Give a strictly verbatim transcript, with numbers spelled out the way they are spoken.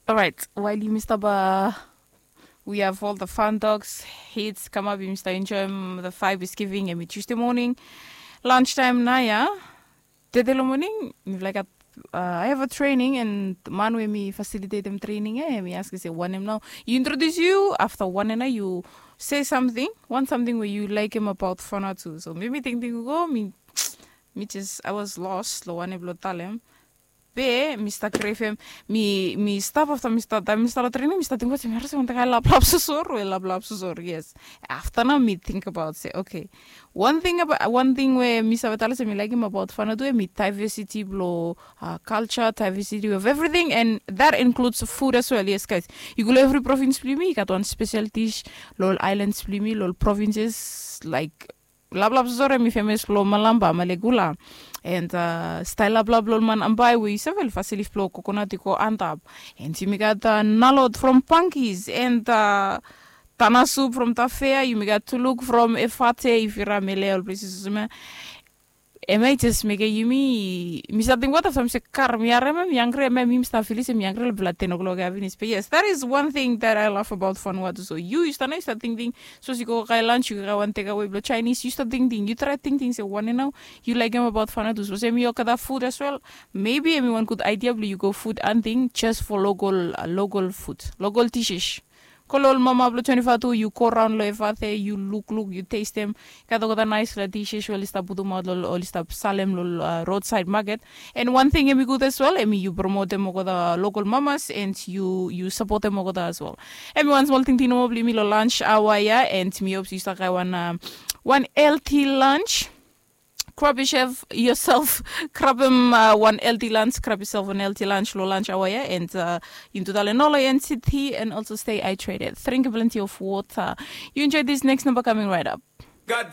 Alright, while yumi stap uh, we have all the fun dogs hits come up, yumi stap enjoy um, the five is giving and me Tuesday morning lunch time na ya. Tete lo morning mi like at uh, I have a training and man wey mi facilitate dem training eh mi ask say one em now you introduce you after one and you say something one something wey you like him about fana too so maybe think think go me me just I was lost lo one em lo talem be mi start grave em mi mi stop after mi start mi start training mi start think what's mi harus untuk I lap lap susur we lap lap susur yes after now mi think about say okay one thing about one thing where mi save tell us mi like him about fana tu mi diversity blo uh, culture diversity of everything and that includes food as well yes guys you go every province bli mi got one special dish lol islands bli mi lol provinces like lablab sosore mi famous lo malamba malegula and uh, style lablab lo man ambai we you sevel facility flow coconut ko antap and you got uh, nalot from punkies and uh, tana soup from tafea you got to look from efate if you are mele all places sosome. Am I just make a yumi mi something what after mi se kar mi are mi angry mi mi start feel mi angry bla ten o'clock I finish but yes that is one thing that I love about fun what so you you start you start thinking so you go kai lunch you go one take away bla Chinese you start thinking you try thinking say one now you like him about fun what so say mi okay that food as well maybe everyone good idea bla you go food and thing just for local uh, local food local dishes Ko lo ol mama blong twenty-five tu yu go raon long evathe yu lukluk yu testem. Gat olgeta naispela dishes we oli stap putumaot long oli stap salem long roadside market. And one thing em i gud as well em i yu promotem olgeta local mamas and yu yu sapotem olgeta as well. Em i wan smol tingting nomo blong yumi long lunch awa ya and mi hope yu stap gai wan wan healthy lunch. Grab yourself, yourself grab him uh, one healthy lunch, grab yourself one healthy lunch, low lunch hour, yeah, and uh, into the Lenolo N C T and also stay hydrated. Drink plenty of water. You enjoy this next number coming right up. God